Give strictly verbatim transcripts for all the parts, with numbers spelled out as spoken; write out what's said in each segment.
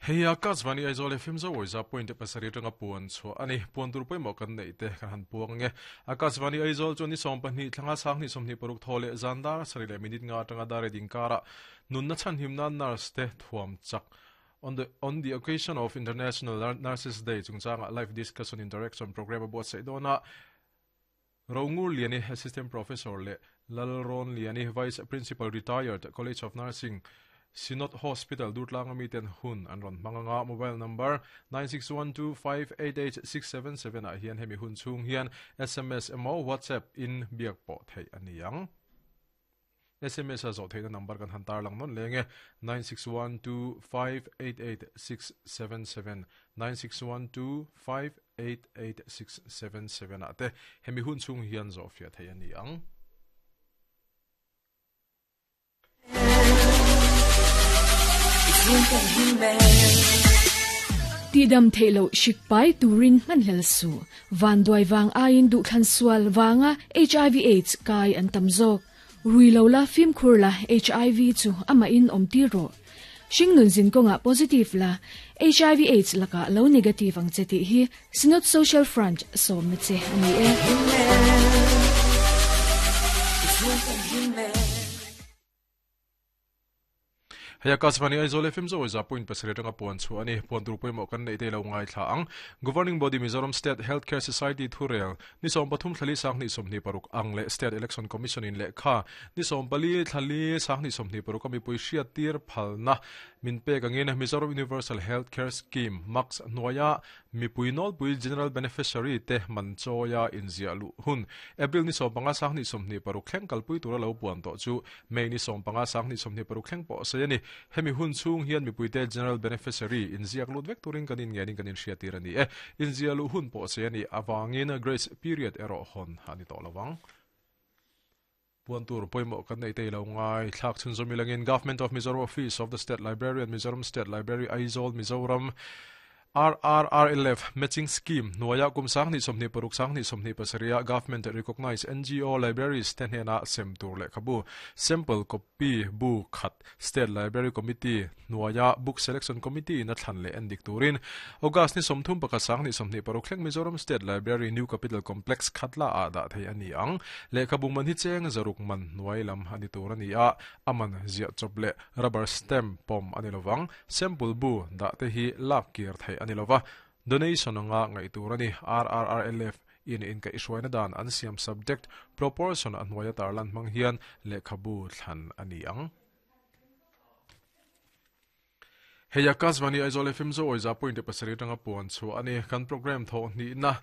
Hei Akashvani Aizawl F M zo za point pasari tanga puan chu ani puan tur poimo kan nei te kan han puang nge Akashvani Aizawl chu ni som pahnih thlanga sang ni somni paruk thole zandar sarile minute nga tanga dare dingkara nunna chan himna nurse te thuam chak on the on the occasion of International Nurses Day chungchanga live discussion interaction program about seidona Rongur Liani Assistant Professor le Lalron Liani Vice Principal Retired College of Nursing Synod Hospital Durtlang ami ten hun an ron manganga mobile number nine six one two five eight eight six seven seven a hian hemi hun chung hian S M S emo WhatsApp in biak po thei aniang S M S a zo theina number kan han tar lang non lenge nine six one two five eight eight six seven seven nine six one two five eight eight six seven seven a te hemi hun chung hian zo fia thei aniang. Ti dam theilo shikpai turin ngan su van doi wang ain du khan sual wanga H I V AIDS kai an tamzok ruilo la phim khur la H I V chu ama in om ti ro shingnun zin ko nga positive la H I V AIDS laka lo negative ang cheti hi Synod Social Front som na che ani e. Hei Akashvani Aizawl F M zo za point pasari tanga puan chu ani puan tur poimo kan nei te lo ngai thla ang Governing Body Mizoram State Healthcare Society thurel ni som pathum thlali sang ni somni paruk ang le State Election Commission in le kha ni som pali thlali sang ni somni paruk ami poisia tir phalna min pe kangin Mizoram Universal Healthcare Scheme max noya mipuinol pui general beneficiary te manchoya inzia lu hun April ni som panga sang ni somni paruk thleng kalpui tura lo puan to chu May ni som panga sang ni somni paruk thleng po se ani hemi hun chung hian mipuite general beneficiary inziak lut vek turin kanin ngenin kanin hriatir ani e inzia lu hun po se ani awangin grace period ero hon ani to lawang puan tur poimo kan nei te lo ngai thlak chun zomilangin Government of Mizoram Office of the State Library and Mizoram State Library Aizawl Mizoram R R R L F matching scheme noya kum sang ni somni paruk sang ni somni pasaria government recognized N G O libraries ten hena sem tur le khabu sample copy bu khat State Library Committee noya book selection committee na thlan le endik turin August ni somthum pakha sang ni somni paruk thleng Mizoram State Library New Capital Complex khatla a da thei ani ang le khabu man hi cheng zaruk man nuai lam ani tur ani a aman zia chople rubber stamp pom ani lowang sample bu da te hi lak kir thei anilova donation nga ngai turani R R R L F in in ka iswaina dan an siam subject proportion anwaya tarlan mang hian lekhabu thlan ani ang. Hei Akashvani Aizawl F M zo oiza point pasari tanga puan chu ani kan program tho ni na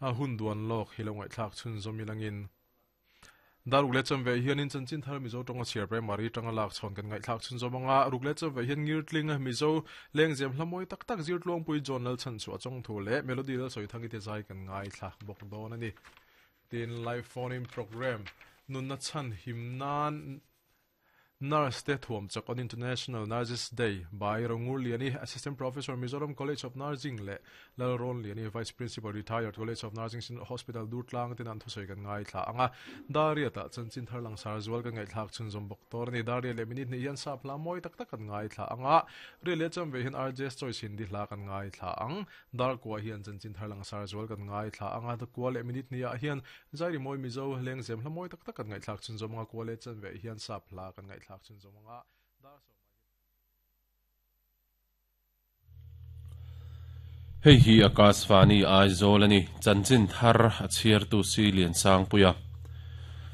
hun duan lok hilongai thlak chun zomilangin Daruk le cham ve hian in chanchin thar Mizo tonga chiar primary tanga lak chon kan ngai thlak chun zomanga ruk le cham ve hian ngir tling Mizo lengzem hlamoi tak tak zir tlong pui journal chan chu achong thu le melody la soi thangi te zai kan ngai thlak bok don ani tin live phone in program nunna chan himnan Nurse te thuam chak on International Nurses Day by Rongur Liani Assistant Professor Mizoram College of Nursing le Lalron Liani Vice Principal Retired College of Nursing Hospital Durtlang tin an thusoi kan ngai thla anga daria ta chanchin tharlang sar zual kan ngai thlak chun zom bok tor ni daria le minute ni hian sap la moi tak tak kan ngai thla anga re le cham ve hin R J choice hindi hla kan ngai thla ang dar kwa hian chanchin tharlang sar zual kan ngai thla anga ta kwa le minute ni a hian zairi moi Mizo leng zem hla moi tak tak kan ngai thlak chun zom nga kwa le chan ve hian sap hla kan ngai thlak chun zom nga dar so. Hei hi Akashvani Aizawl ani chanchin thar a chhiar tu si lian sang puya.